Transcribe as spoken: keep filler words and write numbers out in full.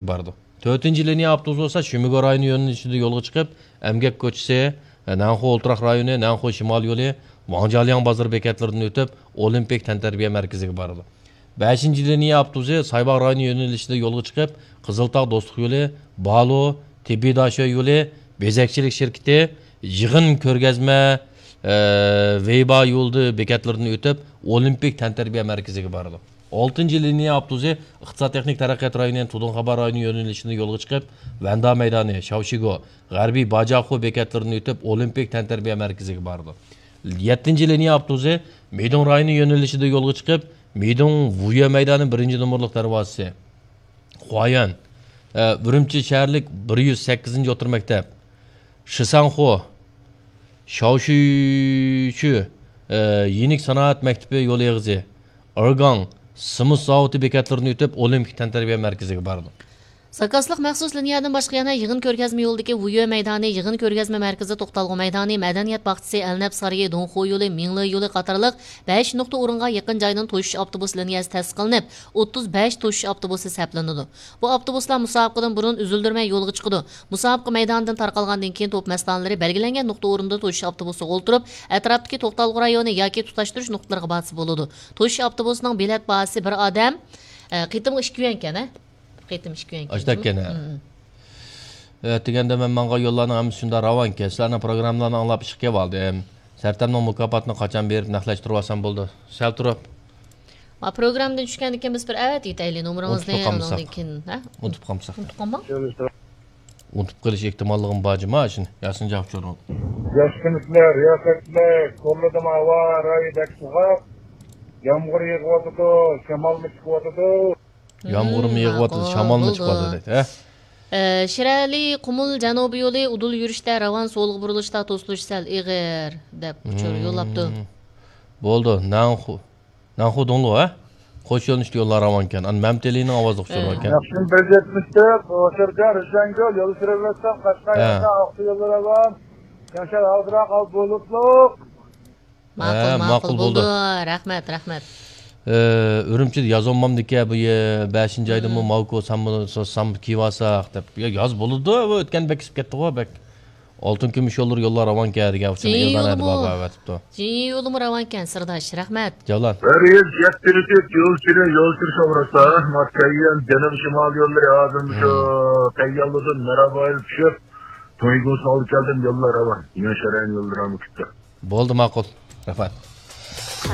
بارىدۇ. تۆتىنچى لىنىيە ئاپتوبۇسى بولسا شۈمىگو رايونى يۆنىلىشىدە يولغا چىقىپ، ئەمگەك كوچىسى، نەنخۇ ئولتۇراق رايونى، نەنخۇ شىمال يولى، ۋاڭجيالياڭ بازىرى بېكەتلىرىدىن ئۆتۈپ، ئولىمپىك تەنتەربىيە مەركىزىگە بارىدۇ. بەشىنچى لىنىيە ئاپتوبۇسى سايباغ رايونى يۆنىلىشىدە يولغا چىقىپ، قىزىلتاغ دوستلۇق يولى، بالۇ، تېببىي داشۆ يولى، بېزەكچىلىك شىركىتى، يىغىن كۆرگەزمە، ئە، ۋېيبا يولىدا بېكەتلىرىدىن ئۆتۈپ، ئولىمپىك تەنتەربىيە مەركىزىگە بارىدۇ. ئالتىنچى لىنىيە ئاپتوبۇسى ئىقتىساد تېخنىك تەرەققىيات رايونى، تۇدۇڭخابا رايونى يۆنىلىشىدىن يولغا چىقىپ، ۋەندا مەيدانى، شاۋشىگو، غەربىي باجاخۇ بېكەتلىرىدىن ئۆتۈپ، ئولىمپىك تەنتەربىيە مەركىزىگە بارىدۇ. يەتتىنچى لىنىيە ئاپتوبۇسى مىدۇڭ رايونى يۆنىلىشىدە يولغا چىقىپ، مىدۇڭ ۋۇيۈە مەيدانى بىرىنچى نومۇرلۇق دەرۋازىسى، خۇايۈەن، ئە، ئۈرۈمچى شەھەرلىك بىر يۈز سەككىزىنچى ئوتتۇرا مەكتەپ، شىسەنخۇ، شاۋشۈيچۈ، ئە، يېنىك سانائەت مەكتىپى يول ئېغىزى، ئېرگاڭ، سېمونت زاۋۇتى بېكەتلىرىدىن ئۆتۈپ، ئولىمپىك تەنتەربىيە مەركىزىگە بارىدۇ. زاكازلىق مەخسۇس لىنىيەدىن باشقا يەنە يىغىن كۆرگەزمە يولىدىكى ۋۇيۈە مەيدانى، يىغىن كۆرگەزمە مەركىزى، توختالغۇ مەيدانى، مەدەنىيەت باغچىسى، ئەلنەپ سارىيى، دۇڭخۇ يولى، مىڭلې يولى قاتارلىق بەش نۇقتا ئورۇنغا يېقىن جايدىن توشۇش ئاپتوبۇس لىنىيەسى تەسىس قىلىنىپ، ئوتتۇز بەش توشۇش ئاپتوبۇسى سەپلىنىدۇ. بۇ ئاپتوبۇسلار مۇسابىقىدىن بۇرۇن ئۈزۈلدۈرمەي يولغا چىقىدۇ. مۇسابىقە مەيدانىدىن تارقالغاندىن كېيىن توپ مەستانىلىرى بەلگىلەنگەن نۇقتا ئورنىدا توشۇش ئاپتوبۇسىغا ئولتۇرۇپ، ئەتراپتىكى توختالغۇ رايونى ياكى تۇتاشتۇرۇش نۇقتىلىرىغا بارسا بولىدۇ. توشۇش ئاپتوبۇسىنىڭ بېلەت باھاسى بىر ئادەم، ئە، قېتىمغا ئىككى يۈەنكەن، ھە؟ قېتىم ئىككى يۈەنكەن. ئاشتەككەن، ھە. مم. ئە، دېگەندە مەن ماڭغان يوللارنىڭ ھەممىسى شۇنداق راۋانكەن. سىلەرنىڭ پروگراممىلارنى ئاڭلاپ ئىشقا كېلىۋالدىم. سەرتەمنىڭ مۇكاپاتىنى قاچان بېرىپ نەقلەشتۈرۈۋالسام بولدى. سەل تۇرۇپ. ما پروگراممىدىن چۈشكەندىن كېيىن بىز بىر ئەۋەتىۋېتەيلى نومۇرىڭىزنى، ئۇنتۇپ قالمىساق. ئۇنىڭدىن كېيىن، ھە؟ ئۇنتۇپ قالمىساق. ئۇنتۇپ قالماڭ. ئۇنتۇپ قېلىش ئېھتىماللىقىمۇ بار جۇما، شۇنى ياسىن جاۋاب چورۇڭ. ياخشىمىسىلەر، رىياسەتچىلەر؟ كورلىدىمۇ ھاۋا رايى بەك سوغۇق. يامغۇر يېغىۋاتىدۇ، شامالمۇ چىقىۋاتىدۇ. يامغۇرمۇ يېغىۋاتىدۇ، ماقۇل، شامالمۇ چىقىۋاتىدۇ دەيدۇ، ھە؟ ئە، شىرئەلى قۇمۇل جەنۇبىي يولى ئۇدۇل يۈرۈشتە راۋان، سولغا بۇرۇلۇشتا توسۇلۇش سەل ئېغىر، دەپ ئۇچۇر يوللاپتۇ. بولدى، نەنخۇ، نەنخۇ دۇڭلۇ، ھە؟ قوش يۆنىلىشلىك يوللار راۋانكەن. ئانا مەمتىلىنىڭ ئاۋازلىق ئۇچۇرى باركەن. ياخشى، بىر يەتمىش تۆت، ئوچۇركەن، رىشەنگۈل، يول سۈرۈۋەتسەم، قەشقەر يولىدا ئاقسۇ يوللىرى راۋان. ياشار ھازىراق ھاۋا بۇلۇتلۇق. ماقۇل، ھە، ماقۇل، ماقۇل بولدى. بولدى. رەھمەت، رەھمەت. ئە، ئۈرۈمچىدە ياز ئونمامدىكى بۇ يە-، بەشىنچى ئايدىمۇ ماۋكو سامبو، سامبو كىيىۋالساق دەپ. يا، ياز بولىدۇ، بۇ ئۆتكەن بەك ئىسسىپ كەتتىغۇ، بەك. ئالتۇن كۈمۈش يوللىرى يوللار راۋانكەن دېگەن ئۇچۇرنى ئېلان ئەدىپ بارىۋەتىپتۇ. جىنيۇ يولىمۇ راۋانكەن، سىرداش. رەھمەت. جاۋلان. بىر يۈز يەتتە يول سۈرۈ، يول سۈرۈش ئورۇستا، ماس كەييەن، جەنۇب شىمال يوللىرى ھازىر مۇشۇ كەييەنلىدىن مەرابايىل چۈشۈپ، تويگۇسىنى ئالدى كەلدىم، يوللار راۋان. ياشار يوللىرى ھەممە كۈتتى. بولدى، ماقۇل. رەھمەت.